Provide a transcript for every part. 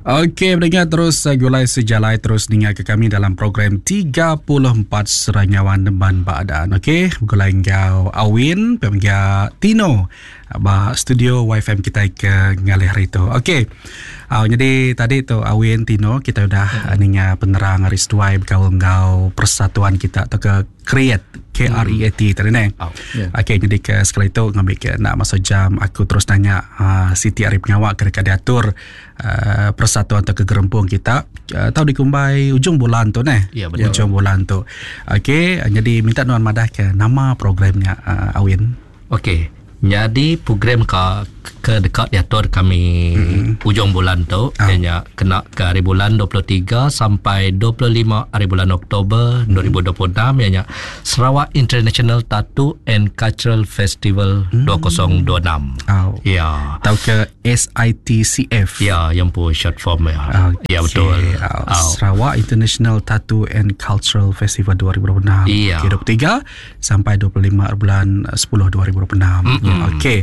Okey, pendengar terus eh, gulai sejalai terus ninga ke kami dalam program 34 Seranyawan Neban Badan. Okey, gulai enggau Awin, pemega Tino ba studio YFM kita ke ngalih hari tu. Okey. Uh, jadi tadi tu Awin Tino kita udah hmm. ninga penerang hari seduai berkaul enggau persatuan kita atau ke Create K R E A T tadi ne. Oh, yeah. Okey jadi ke sekali tu ngambil ke nak masuk jam aku terus nanya uh, Siti Ari Pengawak ke dekat diatur uh, persatuan atau kegerempung kita uh, tahu dikumbai ujung bulan tu ne. Ya, betul. Ujung bulan tu. Okey jadi minta nuan madah ke nama programnya uh, Awin. Okey. Nyadi program ka ke deka diatur kami mm-hmm. ujung bulan tu oh. ianya kena ke hari bulan 23 sampai 25 hari bulan Oktober mm-hmm. 2026 ianya Sarawak International Tattoo and Cultural Festival mm. 2026. Oh. Ya. Tau ke SITCF. Ya, yang pun short form ya. Okay. Ya betul. Oh. Sarawak International Tattoo and Cultural Festival 2026. Ya. Okay, 23 sampai 25 bulan 10 2026. Mm-hmm. Okey.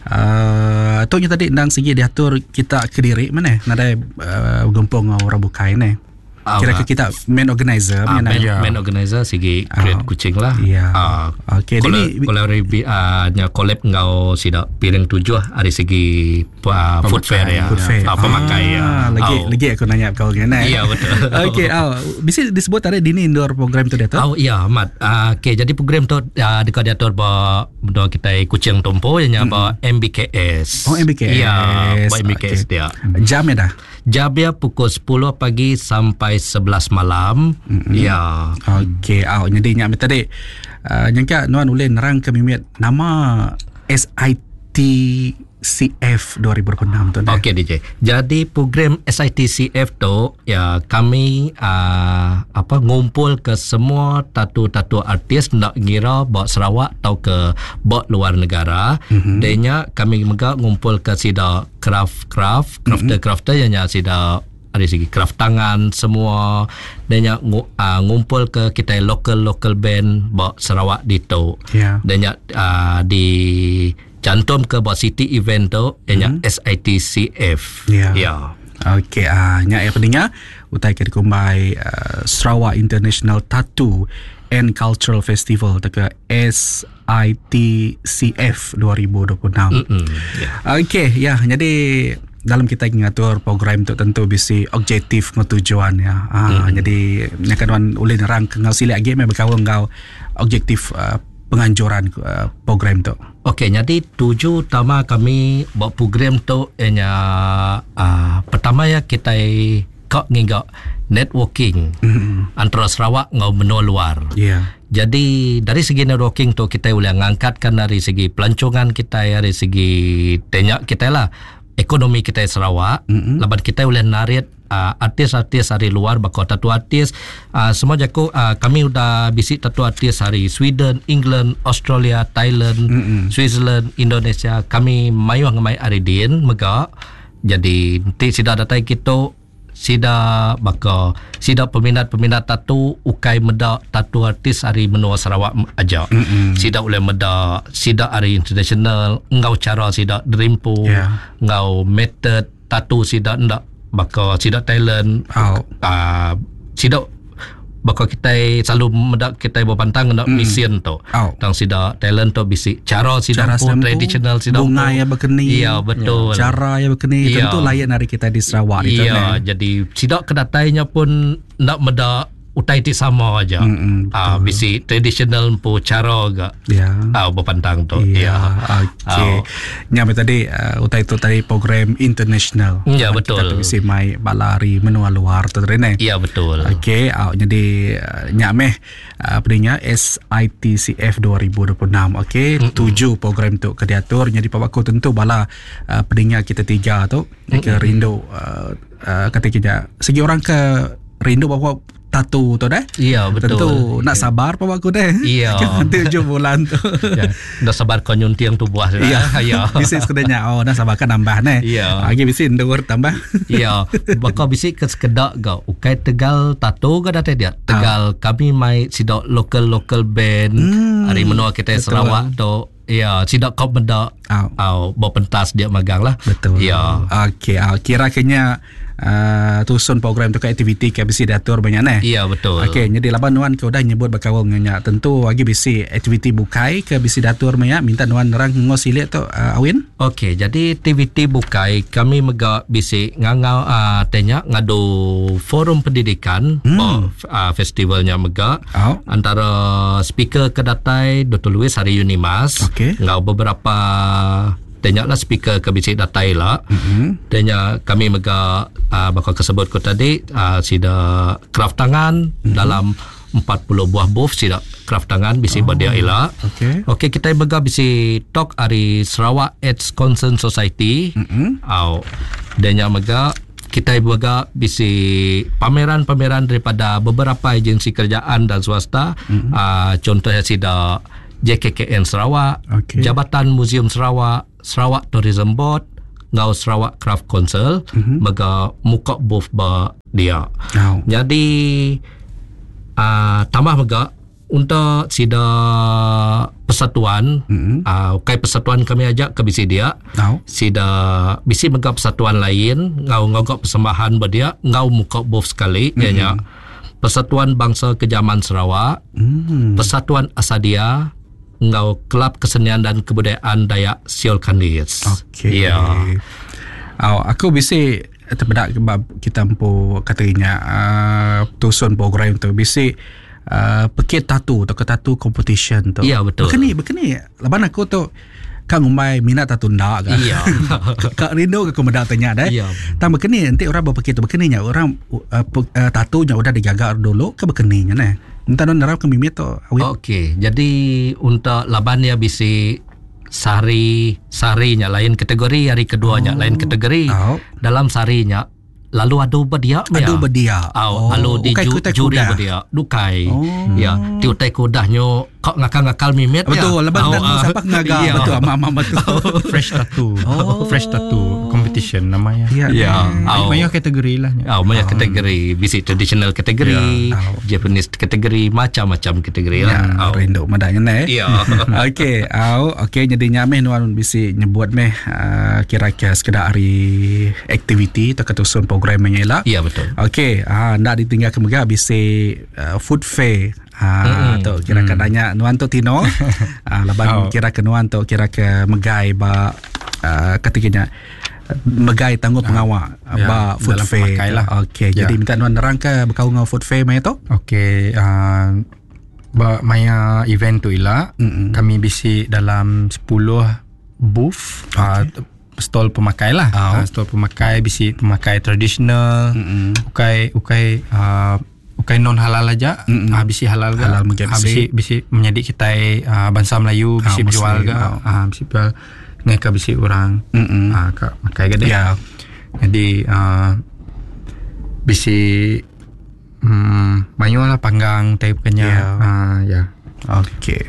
Uh, tu tadi endang segi diatur kita kediri mana? Nadai uh, gempung orang bukai ni. Kira ke kita main organizer uh, main, yeah. main organizer sigi create uh, kucing lah. Ya. Uh, Okey, ini uh, nya collab ngau sida piring tujuh hari segi uh, food fair ya. Food fair. Uh, pemakai ah, ya. Lagi oh. lagi aku nanya kau ngene. Ya betul. Okey, oh, bisa disebut tadi dini indoor program tu dia tu? Oh ya, amat. Uh, Okey, jadi program tu uh, dekat diatur ba benda kita kucing tumpu yang mm-hmm. ba MBKS. Oh MBKS. Ya, ba MBKS okay. dia. Jam ya dah. Jam dia pukul 10 pagi sampai 11 malam. Mm-hmm. Ya. Okey, oh, jadi nyak tadi uh, nyangka nuan ulih nerang ke mimit nama SITCF 2026 tu. Okey DJ. Jadi program SITCF tu ya kami uh, apa ngumpul ke semua tatu-tatu artis nak ngira bak Sarawak atau ke bak luar negara. Mm-hmm. Denya kami juga ngumpul ke sida craft-craft, crafter-crafter mm-hmm. yang sida dari segi craft tangan semua dan nya uh, ngumpul ke kita local local band bak Sarawak ditu. Yeah. Dan nya uh, di cantum ke buat city event tu ianya mm-hmm. SITCF. Ya. Ya. Okey, ah uh, nya ya pendengar utai ke dikumbai uh, Sarawak International Tattoo and Cultural Festival atau ke SITCF 2026. Mm-hmm. Yeah. Okey, ya jadi dalam kita ngatur program tu tentu bisi objektif ngau tujuan ya. Ah mm-hmm. jadi nyakan wan ulih nerang ke ngau silik agi meh bekaul ngau objektif uh, penganjuran uh, program tu. Okey, jadi tuju utama kami buat program tu ianya uh, pertama ya kita kak nginggak networking mm-hmm. antara Sarawak ngau benua luar. Ya. Yeah. Jadi dari segi networking tu kita boleh ngangkatkan dari segi pelancongan kita dari segi tenyak kita lah ekonomi kita Sarawak Mm-mm. laban kita boleh narik uh, artis-artis dari luar bakal tattoo artis uh, semua jaku uh, kami udah bisik tattoo artis dari Sweden, England, Australia, Thailand, Mm-mm. Switzerland, Indonesia kami mayuh ngemai aridin mega jadi nanti sida datai kita sida baka sida peminat-peminat tatu ukai meda tatu artis hari menua Sarawak aja. Mm-mm. Sida boleh meda sida hari international ngau cara sida derimpu Yeah. ngau method tatu sida ndak baka sida talent Oh. uh, sida baka kita selalu meda kita berpantang ndak mm. mesin tu. Oh. Tang sida talent tu bisi cara sida Cara pun sempu, traditional sida bunga pun. yang berkeni. Ya betul. Cara yang berkeni Ya. tentu lain dari kita di Sarawak itu Iya, ne. jadi sidak kedatainya pun nak meda utai ti sama aja. Mm-mm, Ah, bisi traditional po cara gak. Ya. Ah, berpantang tu. Ya, Ya. okey. Nyampe tadi uh, utai tu tadi program international. Ya, Kita betul. tu bisi mai balari menua luar tu tadi ne. Ya, betul. Okey, uh, jadi uh, nyak meh uh, pendengar SITCF 2026. Okey, mm-hmm. tuju program tu ke diatur jadi pak aku tentu bala uh, pendengar kita tiga tu mm-hmm. ke rindu uh, uh, kata kita segi orang ke rindu bawa tatu tu deh. Ya, betul. Tentu nak sabar pak aku deh. Ya. Nanti ujung bulan tu. Ya. Dah sabar kau nyuntiang tu buah sudah. Ya, Ya. Bisi sekedanya oh dah sabar kan nambah ne. Ya. Lagi bisi ndur tambah. Ya, baka bisi ke sekedak gak. Ukai Tegal tato ke datai dia. Tegal kami mai sidak local local band hari menua kita betul. Sarawak tu. Ya, sidak kau meda Au. au bawa pentas dia magang lah. Betul. Ya. Okey, ah, kira kenya uh, tusun program tu ke aktiviti ke bisi diatur ba nya neh. Ya betul. Okey, nyadi laban nuan ke udah nyebut bekaul enggau nya tentu agi bisi aktiviti bukai ke bisi diatur meh nya minta nuan nerang enggau silik tu uh, Awin. Okey, jadi aktiviti bukai kami mega bisi ngangau uh, te nya ngadu forum pendidikan hmm. ba uh, festival nya mega. Oh. Antara speaker ke datai Dr. Louis ari Unimas okay. enggau beberapa Te nya lah speaker ke bisi datai ila. Mm-hmm. Te nya kami mega uh, baka ke sebut ku tadi uh, sida craft tangan mm-hmm. dalam 40 buah booth sida craft tangan bisi oh. ba dia ila. Okey. Okey kita mega bisi talk ari Sarawak AIDS Concern Society. Mm-hmm. Au. Dan nya mega kita mega bisi pameran-pameran daripada beberapa agensi kerajaan dan swasta. Mm-hmm. Uh, contohnya sida JKKN Sarawak, okay. Jabatan Museum Sarawak, Sarawak Tourism Board enggau Sarawak Craft Council mm-hmm. mega muka booth ba dia. Oh. Jadi uh, tambah mega untuk sida persatuan mm-hmm. uh, ukai persatuan kami aja ke bisi dia. Oh. Sida bisi mega persatuan lain ngau ngogok persembahan ba dia ngau muka booth sekali Mm-hmm. ianya Persatuan Bangsa Kejaman Sarawak, Mm. Persatuan Asadia enggau Kelab Kesenian dan Kebudayaan Dayak Siol Kandis. Okey. Ya. Au, aku bisi tepeda ke bab kita empu katanya uh, tusun program tu bisi uh, pekit tatu atau ke tatu competition tu. Ya, betul. Bekeni bekeni laban aku tu ka ngumbai minat tatu nda ga. Ya. Ka rindu ke aku meda tanya deh. Ya. Tang bekeni enti orang berpekit tu bekeni nya orang uh, uh, tatu nya udah digaga dulu ke bekeni nya neh. Minta non nerang ke mimit tu. Awin. Okey, jadi untuk laban dia bisi sehari sehari nya lain kategori, hari kedua nya lain kategori. Oh. Dalam sehari nya lalu adu berdia Adu berdia. Au, Oh, lalu di ukai ju, kutai juri kuda. berdia. Dukai. Oh. Ya, ti utai kudah nyo kok ngakal-ngakal mimit ya. Betul, laban Au, dan ah. siapa ngaga Ya. betul amak amak betul. Fresh tattoo. Oh. Fresh tattoo competition namanya. Ya. Ya. Au. Banyak kategori lah. nya. Au, banyak kategori, bisi traditional kategori, Ya. Au. Japanese kategori, macam-macam kategori lah. Ya, Au. rindu madanya ne. Ya. Okey, au okey jadi nyameh nuan bisi nyebut meh uh, kira-kira sekedar hari aktiviti atau ketusun program nya ila. Ya betul. Okey, ah ndak ditinggal ke mega bisi uh, food fair. Ha tu kira ke nanya nuan tu Tino. ah laban Oh. kira ke nuan tu kira ke megai ba uh, ketikanya megai tangguh pengawak Ya, ba food dalam fair. pemakai lah. Okey, Ya. jadi minta nuan nerang ke berkaul dengan food fair maya tu? Okey, uh, ba maya event tu ila Mm-mm. kami bisi dalam 10 booth okay. uh, stall pemakai lah. Oh. Uh, stall pemakai bisi pemakai tradisional, Mm-mm. ukai ukai uh, ukai non halal aja, Mm-mm. uh, bisi halal ga. Halal mungkin Ah, bisi. bisi bisi menjadi kita uh, bangsa Melayu bisi Ah, berjual Muslim, ga, oh. uh, bisi jual ngai ka bisi orang Mm-mm. uh, ka makai ga deh. Ya. Jadi uh, bisi mayu lah panggang type kenya. Ya. Uh, ya. Okey.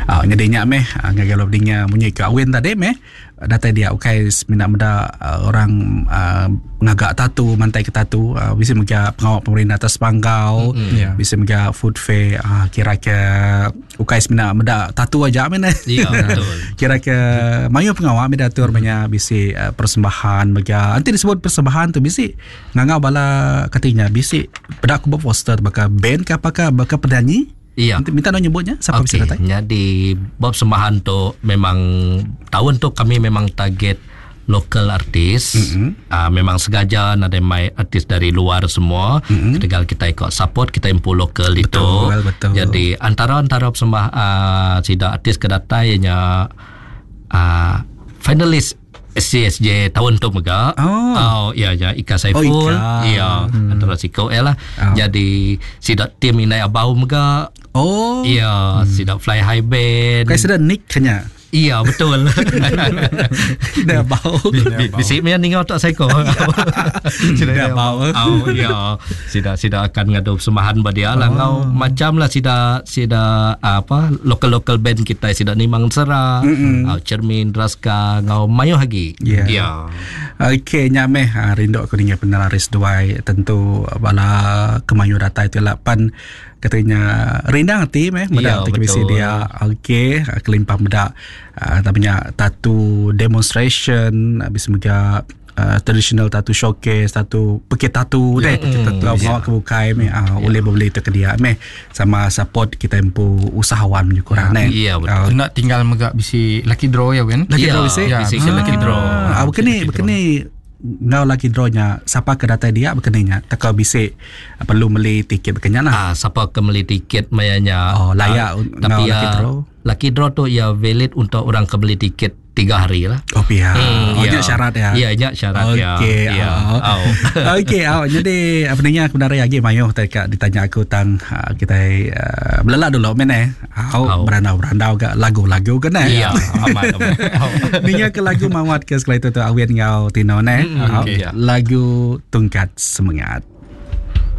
Ah jadi nya meh ah, ngagai lo dinga munyi ke awin tadi meh datai dia ukai semina meda ah, orang ah, ngagak tatu mantai ke tatu ah, bisi mega pengawal pemerintah atas panggau Mm-mm. Ya. bisi mega food fair ah, kira ke ukai semina meda tatu aja meh ne. Ya, betul. kira ke mayu pengawal meh diatur banyak bisi ah, persembahan mega nanti disebut persembahan tu bisi ngangau bala katanya bisi peda aku buat poster baka band ke apakah baka penyanyi Ya. Minta, minta nak nyebutnya siapa okay. bisa Okey, datang? jadi bab sembahan tu memang tahun tu kami memang target local artis. Mm-hmm. Memang sengaja ada mai artis dari luar semua. Mm-hmm. Ketegal kita ikut support kita impu lokal itu. betul. Jadi antara-antara sembah sida artis ke datai ianya finalis SCSJ tahun tu mega. Oh. Oh, ya ya Ika Saiful. Oh, Ika. Ya, antara siko eh lah. Oh. Jadi sida tim Inai Abau mega. Oh. Ya, sida Fly High Band. Kai sudah nick kenya. Iya, betul. Dah bau. Bisi meh ninga tak saiko. Dah bau. Oh, ya. Sida sida akan ngadu persembahan ba dia lah. Ngau macam lah sida sida apa local-local band kita sida Nimang Sera, Mm-mm. Cermin Raska ngau mayo lagi. Ya. Ya. Okey, nyameh ha, rindu aku ninga penelaris duai tentu bala kemayu datai tu lapan katanya rindang hati meh meda Ya, yeah, bisi betul. dia okey ha, kelimpah meda uh, namanya tattoo demonstration habis mega uh, traditional tattoo showcase tattoo pekit tattoo deh enggau pengawa ke bukai meh uh, ulih bebeli tu ke dia meh sama support kita empu usahawan menyu kurang neh. Ya, betul. Enda tinggal mega bisi lucky draw ya Win. Lucky Ya, draw bisi? bisi Ya, lucky draw. Ah, bukan ni, bukan ni ngau lucky draw nya siapa ke datai dia bukan ni nya teka bisi perlu beli tiket bukan nya lah. Ah, siapa ke beli tiket mayanya. Oh, layak Ah, ngau tapi lucky ya, draw. Lucky draw tu ya valid untuk orang ke beli tiket 3 hari lah. Oh pia. Oh, ya. nya syarat ya. Ya, nya syarat ya. Okey. Ya. Oh. Oh. Okey, oh. Jadi apa ni aku dari lagi mayuh tadi ditanya aku tang ah, kita uh, belelak dulu men eh. Au Au. berandau-berandau ke lagu-lagu ke ne. Ya, aman aman. Oh. Ninga ke lagu mawat ke sekali tu tu awin ngau Tino ne. Au, okey. Lagu Tungkat Semangat.